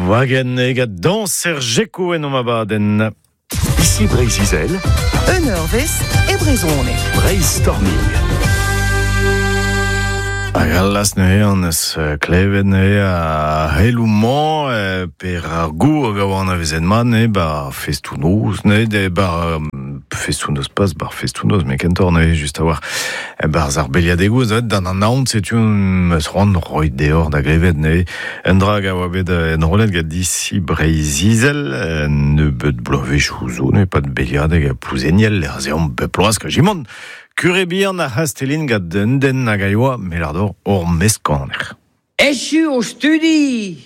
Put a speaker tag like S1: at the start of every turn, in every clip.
S1: Wagen ega dañser Jeko en om abadenn.
S2: Ici Breizh-Izel.
S3: Un eurvezh e brezhoneg.
S2: Breizh-Storming.
S1: Hag allas neuze an eus klevet neuze ar c'heloù-mañ per ar gour hag a oa anavezet mat neuze 'ba festoù-noz neuze 'ba festoù-noz pas 'bar festoù-noz met kentoc'h neuze just a-walc'h 'barzh ar beliadegoù neuze d'an anaon setu 'm eus c'hoant roit deoc'h da glevet neuze un dra hag a oa bet enrollet gant Disi Breizh-Izel un nebeud bloavezhioù zo neuze 'pad beliadeg ha Plouzeniel lec'h ez eomp bep bloaz kajimant Kure bihan ar C'hastellin gant un den hag a yoa, me lâr deoc'h, ur meskaner.
S4: Echu o studi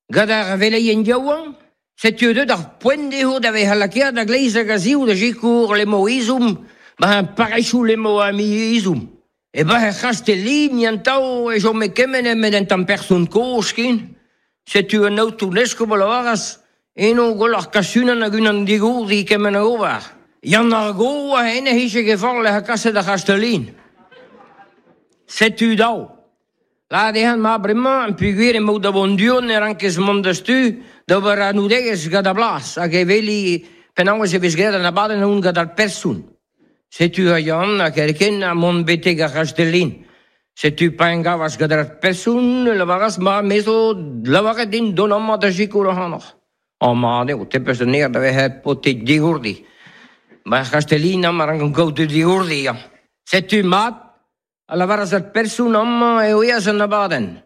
S4: gant ar veleien yaouank, setu deuet ar poent dezho da vezañ lakaet a-gleiz hag a-ziv da sikour Lemoizum ba parrezioù Lemoamizum. E ba er C'hastellin an tav e chome kement nemet un tamm person kozh ken. Setu an aotrou eskob a lavaras eno gwelloc'h kas unan hag unan digourdi kement a ober. Yann ar Go a ene hije ket forzh lec'h kaset ar C'hastellin. Setu dav. Lâret dezhañ ma bremañ peogwir emaout da vont du-hont e rankez mont da stu d'ober anoudegezh gant ar blas hag e weli penaos e vez graet an abadenn hont gant ar person. Setu a Yann ha kerkent ha mont betek ar C'hastellin. Setu pa en gavas gant ar person e lavaras ma me zo lavaret din dont amañ da sikour ac'hanoc'h. Amañ eo, te peus an aer da vezañ paotr digourdi. Ma er C'hastellin amañ a rankan kaout digourdi. Setu mat, a lavaras ar person amañ eo eas an abadenn.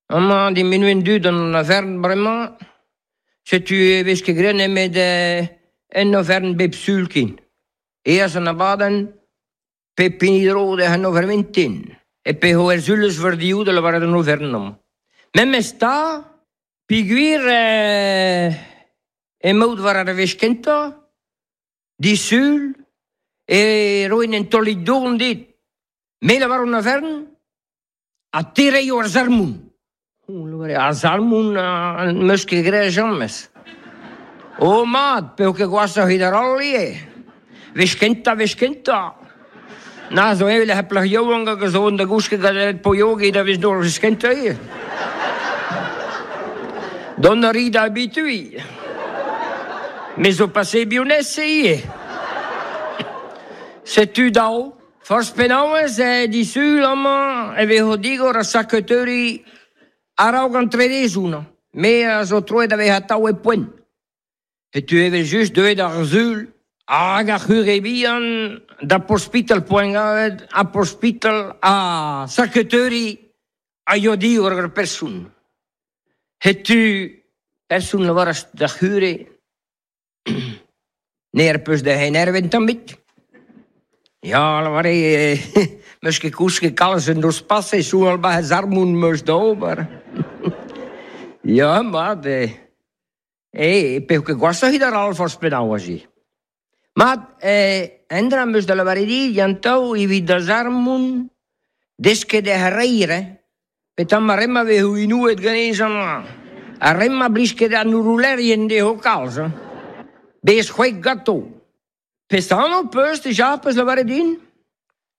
S4: Amañ diminuen dud an overn bremañ, setu e vez ket graet nemet en overn bep sul ken. Eas an abadenn, pep hini dro d'he an overn vintin. E peho er sul eus verdioù da lavaret an overn amañ. Memes 'ta, peogwir emaout war ar wech kentañ, disul, e roin un taolig dourn dit. Me 'lavaro an overn, Ha te 'reio ar sarmon. Ar sarmon n'em eus ket graet james. Oh mat, p'eo ket gwashoc'h evit ar holl ivez. Wech kentañ, wech kentañ. Na zo evel ar plac'h yaouank hag a zo da gousket gant el poiogi da vez nor wech kentañ ivez. Dont a ri da habituiñ. Me zo pase bionez ivez. Setu dav. Forzh penaos eo disul amañ e vezo digor ar saketeuri a-raok an tredezoù. Me a zo troet da vezañ atav e poent. Setu evel-just deuet ar sul hag ar c'hure bihan da pospital Poengavet ha pospital ha saketeuri a yoa digor ur person. Setu person lavaras d'ar c'hure N'er peus da enervet tamm ebet. Ya, lavare, 'meus ket kousket kalz en noz pase, soñjal 'ba he zarmon 'meus da ober. Ya, mat, eh, p'eo ket gwashoc'h evit ar all forzh penaos aze. Mat, un dra 'm eus da lavaret dit, Yann-Tao, evit da zarmon, desket ec'h reier, hein. Petra ar re-mañ 'vezo inouet ganez amañ? Ar re-mañ 'blij ket an ouroulerien dezho kalz hein. Bez c'hwek ganto. Peseurt anv 'peus dija 'peus lavaret din?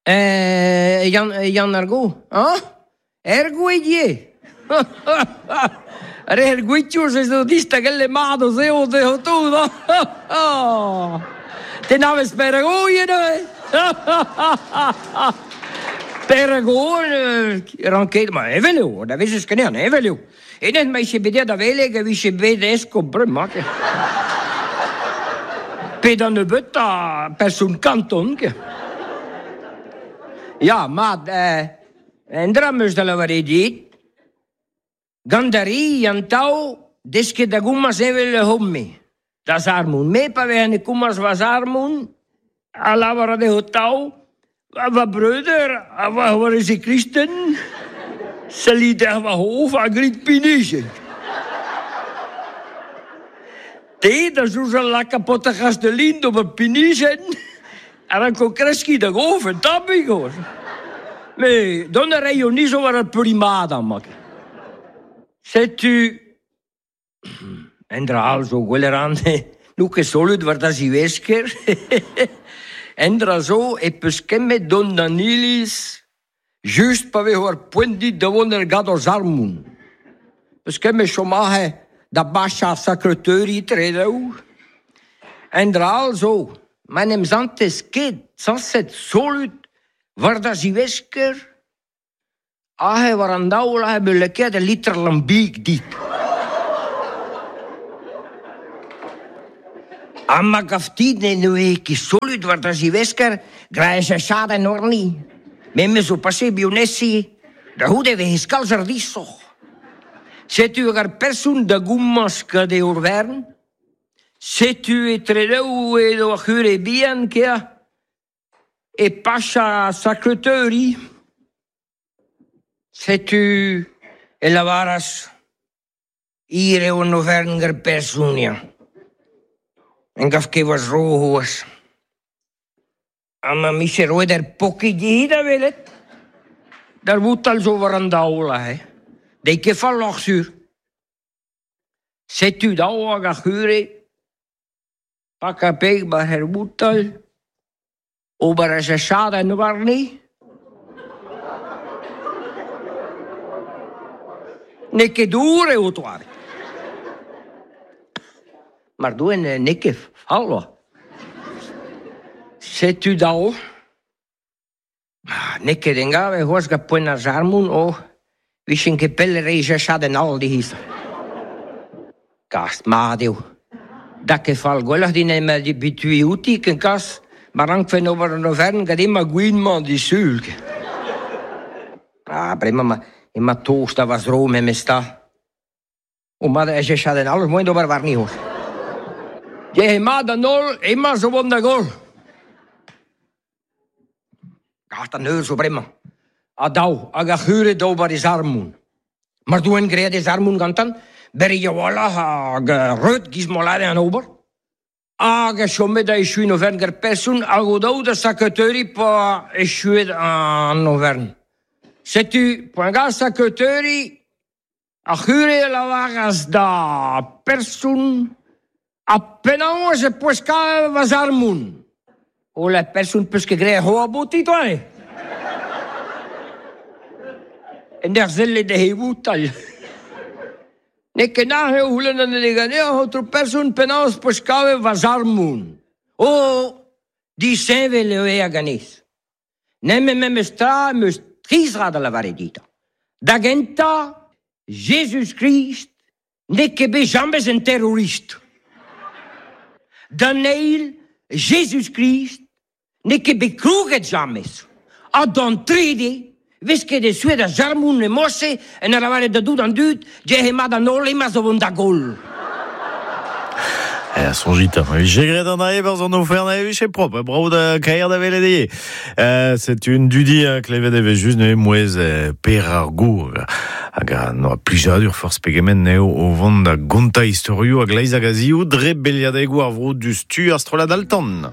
S4: Yann, Yann ar Go, hañ? Er Gouedier! Re er Gouetioù se zo distagell mat o zeo dezho tout hañ! Te n'avez peregoien neuze? Peregoen ranket ma evel eo, da vezez kenean, evel eo. Hennezh ma vije bet aet da veleg e vije bet eskob bremañ. Pe da nebeutañ person kanton. Ya, mat, un dra 'm eus da lavaret dit. Gant ar ri an tav desket da gomañs evel ur c'homme da sarmon. Me pa vezen e komañs va sarmon a lavar dezho tav va breudeur ha va c'hoarezed kristen sellit er va c'hof ha grit pinijenn. Te da soñjal lakaat paotr ar C'hastellin d'ober pinijenn a ranko kreskiñ da gof un tammig. Met dont a raio ni zo war ar peuriñ-mat amañ. Setu un dra all zo gwelet a ran n'on ket solut war da zivesker. Un dra zo e peus kemmet dont d'an iliz just pa vezo ar poent dit da vont er gador-sarmon. Peus kemmet chom aze. Da bacha sakreteuri tredaou. En dra all zo, ma n'em zantez ket sanset solut war da zivesker, ahe war an daol ahe be lakaet a liter lambig dit. Ha ma gaftit ne noe ket solut war da zivesker, graez a chad en orni. Me me zo passé bionessi, da houde ve kalz ar disoch. Setu hag ar person da goumans gant e orvern, setu e tredaou edo ar c'hure bihan kea, e pacha sakreteuri. Setu e lavaras ir eo an overn gar personia. En gaf ket war zro hoas. Ha ma miche roet er poki dihi da welet. Dar vout zo war an daol ahe. Dei ket falloc'h sur. Setu daou hag ar c'hure, pak a peg bar her boutal, ober a chad en warni. Ne ket dour eo toare. Mar doen ne ket fall. Setu daou. Ne ket engave c'hoazh gant poent ar jarmoun, o, vichen ket pell reiz a chad en all dihiz. Gast mat eo. Da ket fall gwelloc'h din ema di bitui outi ken kas, ma rankfen ober an overn gant ema gwin-mañ di sul. Ah, bremañ ma ema tost a va zro memes ta. O mat a chad en all, moen d'ober warni hoz. Je mat an holl, ema zo vont da gol. Gast an eur zo bremañ. A daou, hag ar c'hure d'ober e zarmoun. Mar doen graet e zarmoun gantan, berri wallah hag reut giz molade an ober. Hag a chomet da echuin overn gar person, hag o daou da saketeuri pa echuet an overn. Setu, poan ga saketeuri, ar c'hure a lavaras da person, a penaos e poes ka va zarmoun. O la person peus ket graet hoa boti toare. En der zelle de he boutal. Ne ket na eo houlen an eganea otro person penaos peus kave va zarmoun. O, di senvel eo ea ganez. Nem memes tra meus trizra da lavare dita. Da genta, Jesus Christ ne ket bet jamez en terrorist. Da neil, Jesus Christ ne ket bet krouget jamez. Ha d'an trede, vez ket e suet a jarmoun e mosse, en a lavare da dout an dud, je mat an holl ema zo vont da gol.
S1: E, sonjit, j'ai graet an ae barz an ofern ae viche prop, bravo da kaer da velet eo. C'est une dudi klevet eve just ne mouez per ar go hag a noa plijadur forz pegement neo o vont da gonta historioù hag leiz hag a zioù dre beliadegou ar vro du stu ar strollad altan.